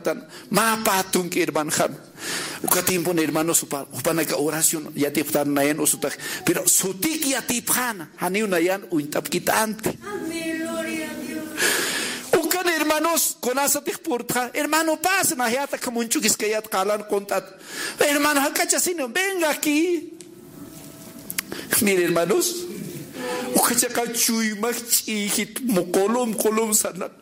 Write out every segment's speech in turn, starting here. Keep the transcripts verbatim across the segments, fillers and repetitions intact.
tan mä pä tunka hermanxam. Uka tiempon hermanos, jupa, jupanaka oración yatipxtan nayan usutax. Pero sutik yatipxäna, janiw nayan uñt'apkitänti. Amén, gloria a Dios. Ukan hermanos, kunasatix purtxa, hermano, pasa, nayatak munch'ukiskayät qalan qunt'at. Hermano, jak'achasini, venga aquí. Mire, hermanos, ukachaqa chuymax ch'ijit, mu qulum qulum sanat.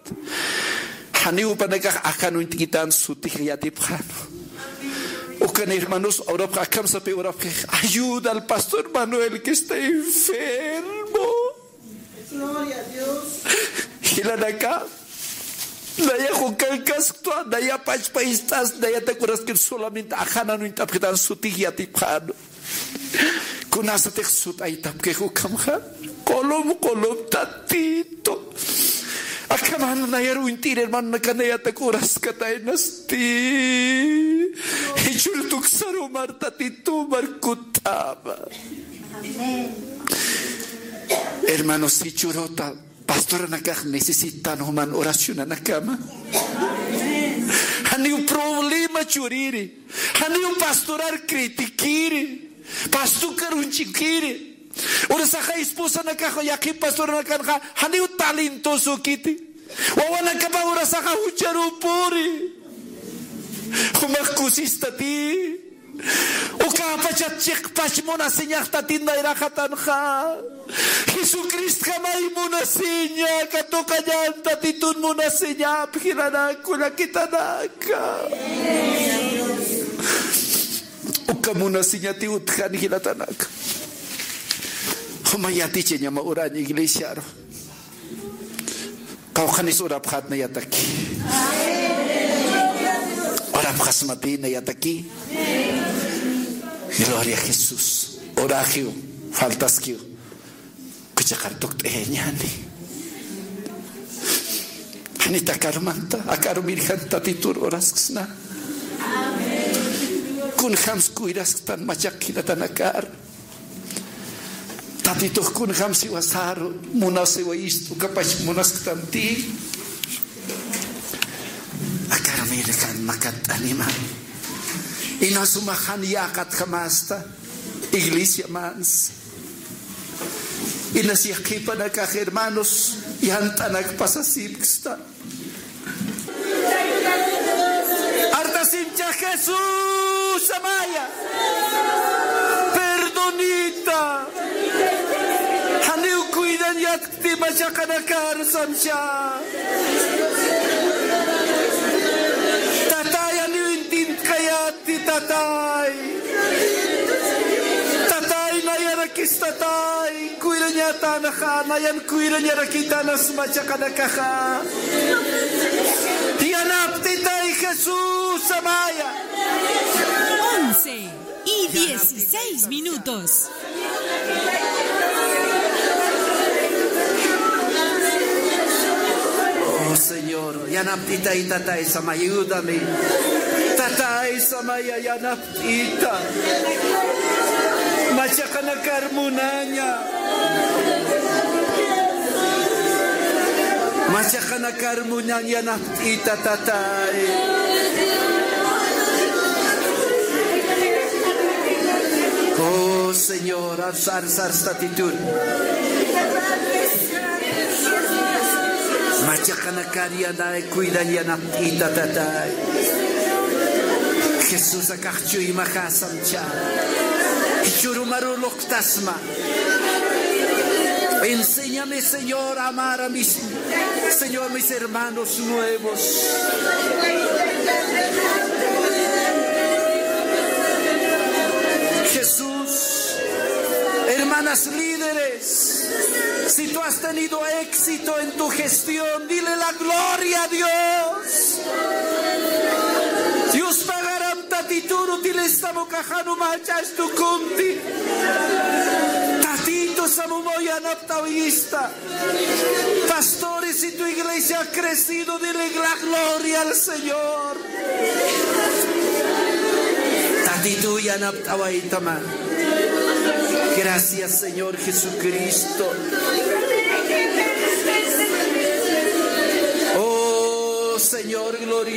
Janiw jupanakax akan uñt'kitän sutix yatipxän. Ukan hermanos, urapx akham sapxi, urapxi, ayuda al pastor Manuel que está enfermo. Gloria a Dios. Jilanaka, nayax ukan kasktwa, naya pachpa ist'as, nayatak uraskir solamente ajanan uñt'apxitän sutix yatipxän. Kunasatix sut'aytapkix ukhamxa, qulum qulum Tatito. Akham jan nayar uñt'ir hermanonaka, nayatak uraskataynasti. Jichhür tuksarumar Tatito, mar kutt'ama. Amén. Hermanos, jichhüruta pastoranakax necesitan juman oracionanakama. Janiw problema churiri. Janiw pastorar criticiri. Pastukar uñch'ukiri. Urasaxa esposanakax yaqhip pastoranakanxa janiw talentosokiti. Wawanakapa urasaxa jucharupuri. Jumax kusistati. Ukapachat chiqpach munasiñax Tatit nayraxatanxa. Jesucristjamay munasiña, katuqañan Tatitun munasiñap, jilanak kullakitanaka. Uka munasiñati utjan jilatanaka. Juma yatichañama uraña iglesiaru. Qawqhanis urapxät nayataki. Urapxasmati nayataki. Gloria a Jesús. Uraxiw, faltaskiw. Kuchaqar tukt'ayañäni. Janit akarumanta, akarumirjan Tatitur urasksna. Kunjams kuyrasktan machaq jilatanakar. Tatitux kunjams jiwasaru, munasiwayist, ukapach munasktanti. Akarumirjan makant'anima. Ina suma jan yäqatjamasta, iglesia mans. Inas yaqhipanakax hermanos, yant'anak pasasipksta. Artasimcha Jesús amaya. Perdonita. Janiw cuidañatkti machaqanakar samcha. Tatay, janiw intint'kayätti, tatay. Tatay, nayarakis tatay. Kuyrañatanxa, nayan kuyrañarakitanas machaqanakaxa. Yanaptitay Jesús amaya. Once y dieciséis minutos. Oh, Señor, yanaptitay, tatay, samay, ayúdame. Tatay, samaya, yanap Ita. Machaqanakar munaña. Machaqanakar munaña, yanapt'ita, tatay. Oh, Señor, arsar, arsar, Tatitur. Machaqanakar yanay, cuidañ, yanapt'ita, tatay. Jesús, akax chuymaxasam chä. Jichhürumaru luqtasma. Enséñame, Señor, a amar a mis, Señor, mis hermanos nuevos. Jesús, hermanas líderes, si tú has tenido éxito en tu gestión, dile la gloria a Dios. Dios pagaram Tatitur utilistamu, kaxanuma jach'astu kunti. Tatitu samumaw yanapt'awista. Pastores, si tu iglesia ha crecido, dile la gloria al Señor. Tatitu yanapt'awaytama. Gracias, Señor Jesucristo. Oh, Señor, gloria.